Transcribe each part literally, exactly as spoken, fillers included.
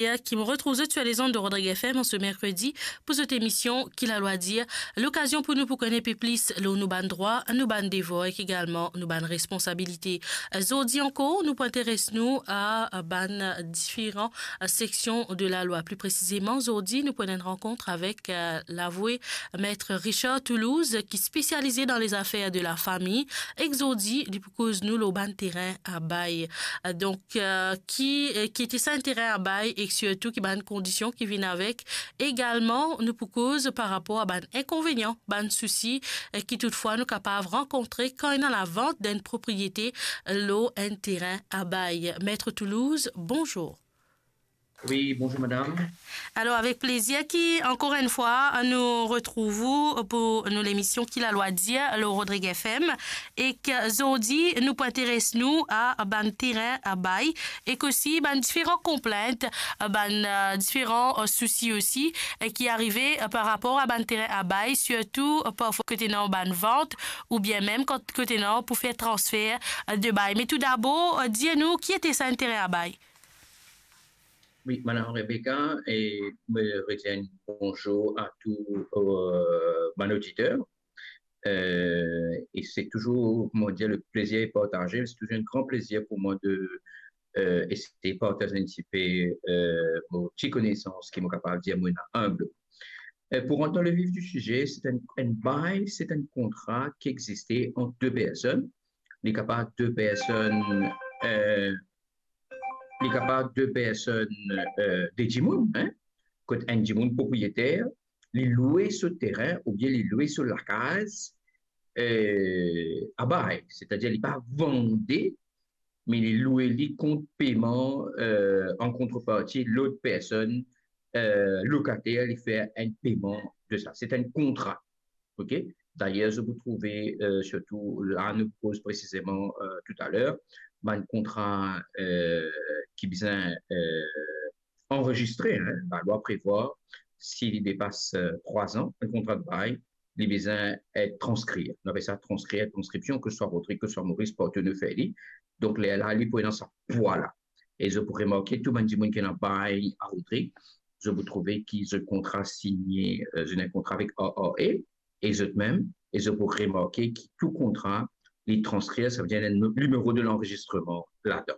ki mo retrouv zot sur les ondes de Rodrigue F M an se merkredi pou zot emision Ki Lalwa Dir. Lokazion pou nou pou kone pe plis lor nou bann drwa, nou bann devwar ek egalman nou bann responsabilite. Zordi ankor, nou pou interes nou a bann diferan seksion de lalwa. Pli presizeman, zordi, nou pou ena enn rankont avek, eh, lavoue Maître Richard Toulouse, ki spesialize dan lezafer de lafami, ek zordi, li pou koz nou lor bann terin a bay. Eh, donk, eh, ki, eh, ki ete sa enn terin a bay, ek sirtou ki bann kondision ki vinn avek. Egalman, nou pou koz par rapor a bann inkonvenian, bann sousi, eh, ki toutfwa nou kapav rankontre kan ena lavant d'enn propriete lor enn terin a bay. Maître Toulouse, bonzour. Wi, bonzour madam. Alor, avek plezir ki, ankor enn fwa, nou retrouv ou pou nou lemision Ki Lalwa Dir lor Rodrigue F M. Ek zordi, nou pou interes nou a bann terin a bay, ek osi bann diferan konplint, bann, eh, diferan, eh, sousi osi, eh, ki arive, eh, par rapor a bann terin a bay, sirtou, eh, parfwa kot ena bann vant, oubien mem kan kot ena pou fer transfer, eh, de bay. Me toudabor, eh, dir nou, ki ete sa enn terin a bay? Wi, madam Rebecca, e mo redir bonzour a tou, eh, bann oditer. Eh, e se touzour, kouma dir, le plezir est partagé. Se touzour enn gran plezir pou mwa de, eh, eseye partaz enn tipe, eh, mo ti konesans, ki mo kapav dir mo ena inb. Eh, pou rant dan le vif di size, se enn, enn bay, se enn kontra ki existe ant de personn. Li kapav de personn, eh, li kapav de personn, eh, de dimoun, hein, kot enn dimoun propriyeter, li loue so terin oubien li loue so lakaz, eh, a bay, setadir li pa vande, me li loue li kont peman, eh, an kontreparti lot personn, eh, lokater, li fer enn peman de sa. Se enn kontra. Ok? Dayer, zot pou trouve, eh, sirtou la, nou koz presizeman, eh, toutaler, bann kontra, eh, ki bizin, eh, anrezistre, hein, lalwa prevwar, si li depas, eh, trwa zan, enn kontra de bay, li bizin et transkrir. Nou apel sa transkrir, transkripsion, ke swa Rodrig, ke swa Moris, partou nou fer li. Donk, lerla, li pou ena sa pwa la. E zot pou remarke, tou bann dimoun ki ena bay a Rodrig, zot pou trouve ki zot kontra signe, eh, zot ena enn kontra avek A A E, e zot mem, e zot pou remarke ki tou kontra, li transkrir, savedir ena enn nimero de lanrezistreman ladan.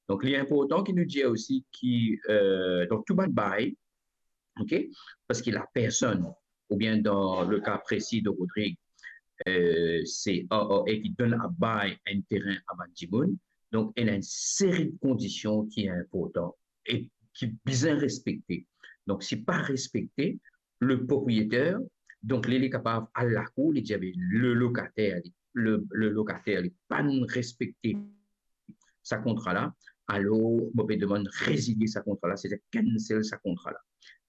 Donk, li inportan ki nou dir osi ki, eh, dan tou bann bay, ok, parski lapersonn, oubien dan le ka presi de Rodrig, eh, se A A E ki donn a bay enn terin a bann dimoun, donk ena enn seri de kondision ki inportan e ki bizin respekte. Donk, si pa respekte, le propriyeter, donk li, li kapav al lakour, li dir, "Be, le lokater, li, le, le lokater, li pa'nn respekte sa kontra la, alor mo pe demann rezilie sa kontra la, setadir cancel sa kontra la."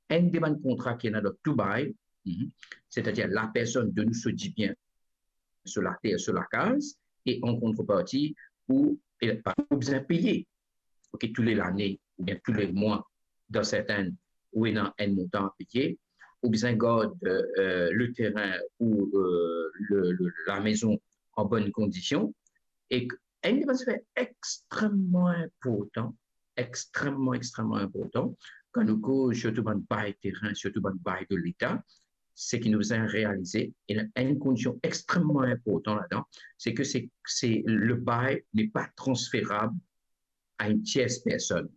Enn de bann kontra ki ena dan tou bay, mhm, setadir lapersonn donn ou so dibien, so later, so lakaz, e an kontreparti, ou, e, ou bizin peye, ok, tou le lane, oubien tou le mwa, dan sertin, ou ena enn montan a peye, ou bizin gard, eh, le terin ou, eh, le, le, lamezon an bonn kondision, e enn de bann zafer extrememan inportan, extrememan, extrememan inportan, kan nou koz sirtou bann bay terin, sirtou bann bay de Leta, se ki nou bizin realize, e enn kondision extrememan inportan ladan, se ke se, se le bay n'est pas transférable à une tierce personne.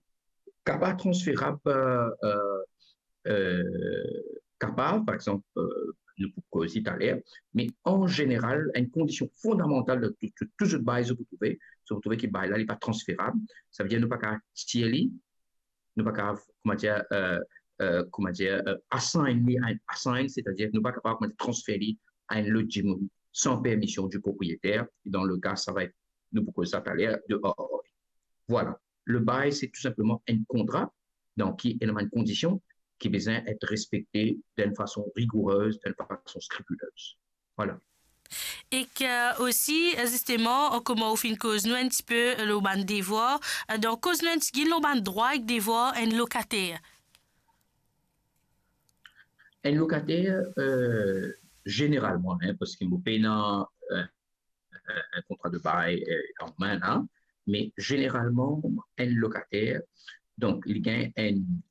Kapav transferab, eh, eh, eh, kapav, par exanp, eh, nou pou koz li taler, me an zeneral, enn kondision fondamantal dan tou, tou, tou zot bay, zot pou trouve, zot pou trouve ki bay la, li pa transferab, savedir nou pa kapav tir li, nou pa kapav, kouma dir, eh, eh, kouma dir, eh, assign li, assign, setadir nou pa kapav, kouma dir, transfer li a enn lot dimoun san permision di propriyeter, e dan le ka, sa va et, nou pou koz sa taler, de A A E. Vwala. Le bay, se tou sinpleman enn kontra, dan ki ena bann kondision ki bizin et respekte dan enn fason rigourez, dan enn fason skripilez. Vwala. Ek, eh, osi, eh, zisteman, eh, kouma ou finn koz nou enn tipe, eh, lor bann devwar, eh, donk koz nou enn tigit lor bann drwa ek devwar enn lokater. Enn lokater, eh, zeneralman, hein, parski mo pena, eh, eh, enn kontra de bay, eh, an me la, me zeneralman, enn lokater, donk, li gagn enn, enn